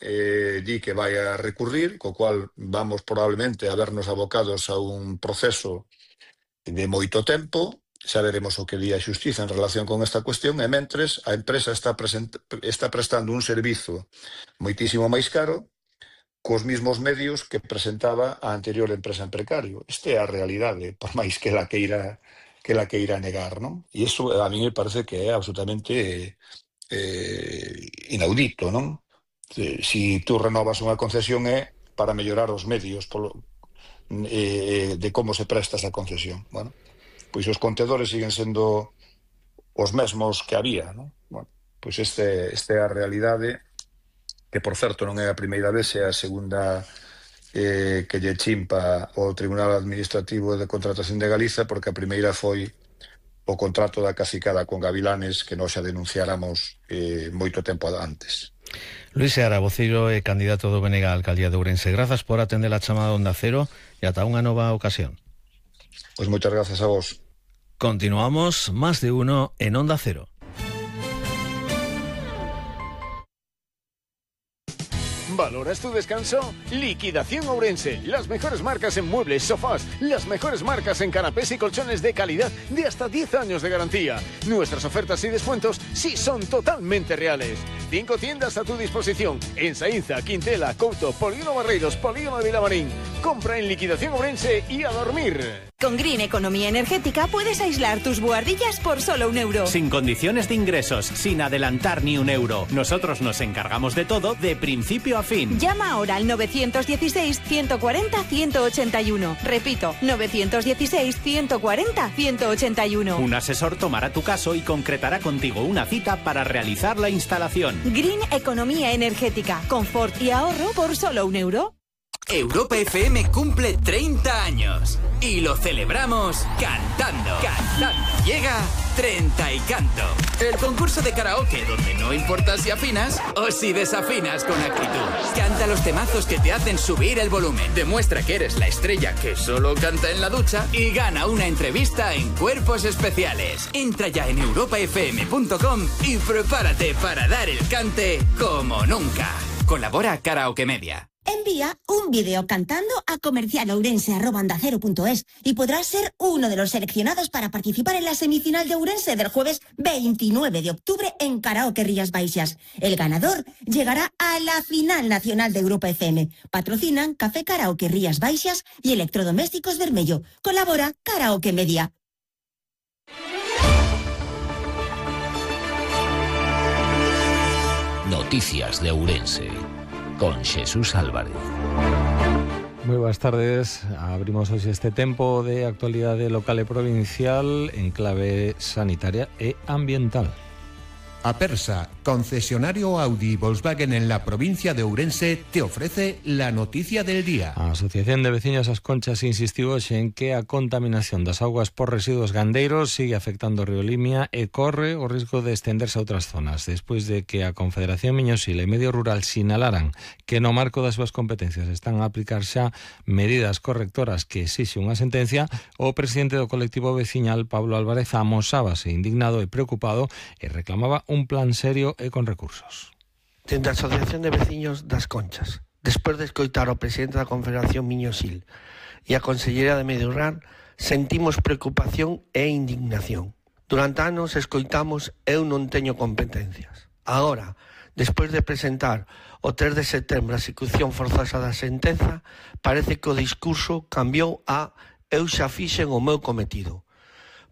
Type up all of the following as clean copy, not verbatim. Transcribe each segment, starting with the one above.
di que vai a recurrir, co cual vamos probablemente a vernos abocados a un proceso de moito tempo. Xa veremos o que di a Xustiza en relación con esta cuestión, e mentres a empresa está prestando un servizo moitísimo máis caro cos mismos medios que presentaba a anterior empresa en precario. Esta é a realidade, por máis que la queira negar, non? E iso a mí me parece que é absolutamente inaudito, non? Si tú renovas unha concesión é para mellorar os medios de como se presta esa concesión. Bueno, pois os contedores siguen sendo os mesmos que había, non? Bueno, pois este é a realidade, que por certo non é a primeira vez, é a segunda que lle chimpa o Tribunal Administrativo de Contratación de Galiza, porque a primeira foi o contrato da cacicada con Gavilanes, que nós xa denunciáramos moito tempo antes. Luis Seara, voceiro e candidato do BNG á alcaldía de Ourense, grazas por atender a chamada Onda Cero e ata unha nova ocasión. Pois moitas grazas a vos. Continuamos, Más de Uno en Onda Cero. ¿Valoras tu descanso? Liquidación Ourense. Las mejores marcas en muebles, sofás, las mejores marcas en canapés y colchones de calidad de hasta 10 años de garantía. Nuestras ofertas y descuentos sí son totalmente reales. 5 tiendas a tu disposición en Saínza, Quintela, Couto, Polígono Barreiros, Polígono de Vilamarín. Compra en Liquidación Ourense y a dormir. Con Green Economía Energética puedes aislar tus buhardillas por solo €1. Sin condiciones de ingresos, sin adelantar ni €1. Nosotros nos encargamos de todo de principio a fin. Llama ahora al 916-140-181. Repito, 916-140-181. Un asesor tomará tu caso y concretará contigo una cita para realizar la instalación. Green Economía Energética. Confort y ahorro por solo €1. Europa FM cumple 30 años y lo celebramos cantando. Llega 30 y Canto, el concurso de karaoke donde no importa si afinas o si desafinas con actitud. Canta los temazos que te hacen subir el volumen, demuestra que eres la estrella que solo canta en la ducha y gana una entrevista en Cuerpos Especiales. Entra ya en europafm.com y prepárate para dar el cante como nunca. Colabora Karaoke Media. Envía un vídeo cantando a comercialourense@ondacero.es y podrás ser uno de los seleccionados para participar en la semifinal de Ourense del jueves 29 de octubre en Karaoke Rías Baixas. El ganador llegará a la final nacional de Europa FM. Patrocinan Café Karaoke Rías Baixas y Electrodomésticos Bermello. Colabora Karaoke Media. Noticias de Ourense con Jesús Álvarez. Moi boas tardes. Abrimos hoxe este tempo de actualidade local e provincial en clave sanitaria e ambiental. Apersa, concesionario Audi y Volkswagen en la provincia de Ourense, te ofrece la noticia del día. A Asociación de Veciños As Conchas insistiu hoxe en que a contaminación das augas por residuos gandeiros sigue afectando o río Limia e corre o risco de estenderse a outras zonas, despois de que a Confederación Miñosil e Medio Rural sinalaran que no marco das súas competencias están a aplicar xa medidas correctoras que exixe unha sentencia. O presidente do colectivo veciñal, Pablo Álvarez, amosábase indignado e preocupado e reclamaba un plan serio e con recursos. Dende a Asociación de Veciños das Conchas, despois de escoitar ao presidente da Confederación Miñosil e a Conselleira de Medio Rural, sentimos preocupación e indignación. Durante anos escoitamos eu non teño competencias. Agora, despois de presentar o 3 de setembro a execución forzosa da sentenza, parece que o discurso cambiou a eu xa fixen o meu cometido.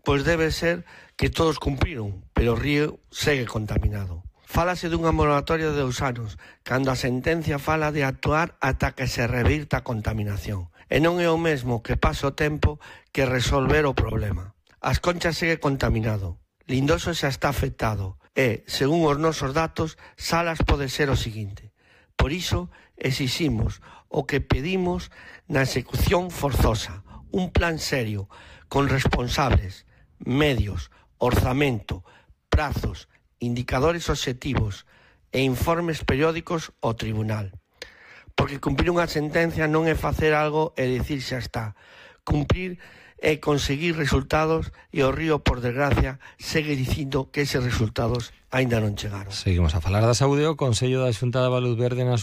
Pois debe ser que todos cumpriron, pero o río segue contaminado. Fálase dunha moratoria de 2 anos, cando a sentencia fala de actuar ata que se revirta a contaminación. E non é o mesmo que pase o tempo que resolver o problema. As Conchas segue contaminado, Lindoso xa está afectado e, según os nosos datos, Salas pode ser o seguinte. Por iso, exiximos o que pedimos na execución forzosa, un plan serio, con responsables, medios, orzamento, prazos, indicadores obxectivos e informes periódicos ao tribunal. Porque cumprir unha sentencia non é facer algo e dicir xa está. Cumprir é conseguir resultados e o río, por desgracia, segue dicindo que eses resultados aínda non chegaron. Seguimos a falar da saúde. O Consello da Xunta de Valuz Verde na